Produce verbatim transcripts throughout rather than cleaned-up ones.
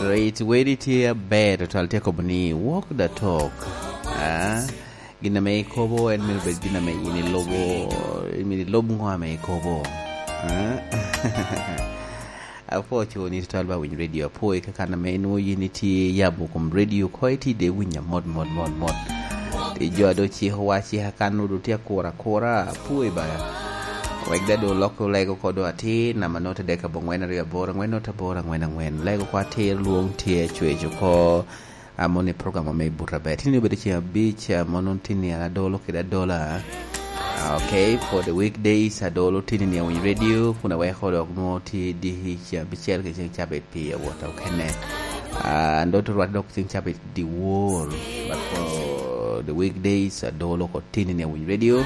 Rit weri tye aber, tutwal tye kobo ni walk the talk. Ah, gin ame ikobo en myero bed gin ame in ilubo, in myero ilub ŋo ame ikobo. Ah? Apwo co ni tutwal ba winy radio, apwo i kakan ame inwo yin itye yabo kom radio ko iti de winyo mot, mot, mot, mot. Ti jo ado ciko wa cika kan odo tye akura, akura, apwo i ba. Wek da do lok olego kodo atir, nama note dek abongwen aryo aboro angwen note aboro angwen angwen. Lego kwa atir lwong tye cwec oko. Ah, mono i program ame i buta ber. Tini obedo ceng abic, ah, mono tini adolo kede adola. Ah, okay, for the weekdays, adolo tini ni awiny radio, kun aweko dok nwo ti di ceng abicel kede ceng cabit pi awota okene. Ah, ando to rwat dok ceng cabit di wor, but for the weekdays, adolo ko tini ni awiny radio.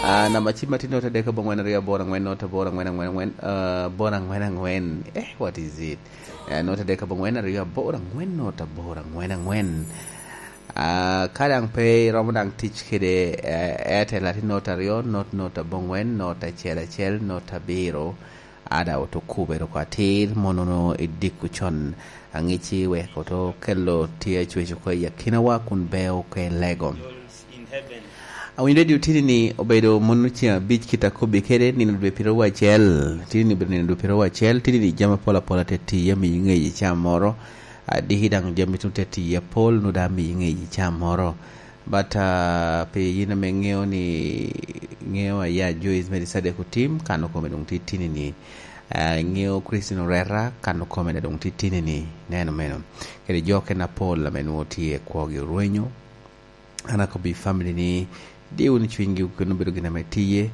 Ah, namba cim atin note dek abongwen aryo aboro angwen note aboro angwen angwen angwen, ah, aboro angwen angwen. Eh, what is it? Eh, note dek abongwen aryo aboro angwen note aboro angwen angwen. Ah, ka daŋ pe iromo daŋ tic kede, eh, Airtel, atin note aryo, note, note abongwen, note acel acel, note abiro. Ada oto kubere oko atir, mono no idiko con aŋici wek oto kelo tye acwec oko i akinawa kun beo ke lego. Awinyo radio tini ni obedo mono ceng abic kit akobbi kede nino dwe piro acel, tini ni obedo nino dwe piro acel, tini ni jami apol apol ate tiye amiyo ŋeyi cam moro, adiki daŋ jami tuŋ te tiye apol, nu daŋ amiyo ŋeyi cam moro. But, ah, pi yin ame ŋeo ni, ŋeo aya Joyce Mary Sadek Otim, kano kome doŋ titini ni. Ah, ŋeo Christine Oreta, kano kome doŋ titini ni. Neno meno. Kede jo kena pol ame nwo tye kwogi orwenyo. An akobbi family ni, di wunu cwinygi, kun obedo gin ame tiye.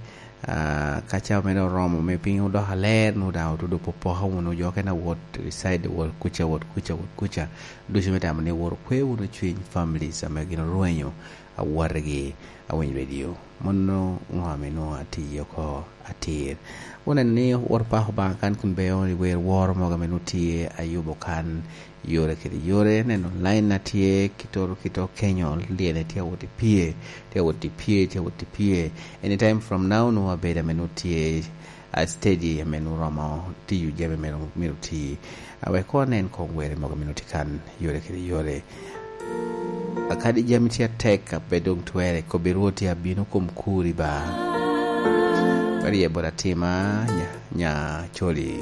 Ah, ka ca mere oromo, me piny odoko aler, nu daŋ otudo popoka wunu, jo kena wot, reside, wot kuca, wot kuca, wot kuca. Ducu me tamo ni woro kwe wunu cwiny families ame gin orwenyo awotgi awiny radio. Mono ŋo ame nwoŋo atiyo oko atir. Wun en ni woro pako Obaŋa kan kun beyo i wer woro mogo ame nwoŋo tye ayubo kan yore kede yore. Neno line na tye kitoro kito kenyo lyene tye awot i pye, tye awot i pye, tye awot i pye. Anytime from now nwoŋo abedo ame nwoŋo tye a steady ame nwoŋo romo tiyo jami mere myero oti. A wek koŋ onen koŋ were mogo myero oti kan yore kede yore. A kadi jami tye atek, a pe doŋ twerre, kobbi Rwot tye abino kom kuri ba. Weri ye bot atima, nya, nya coli.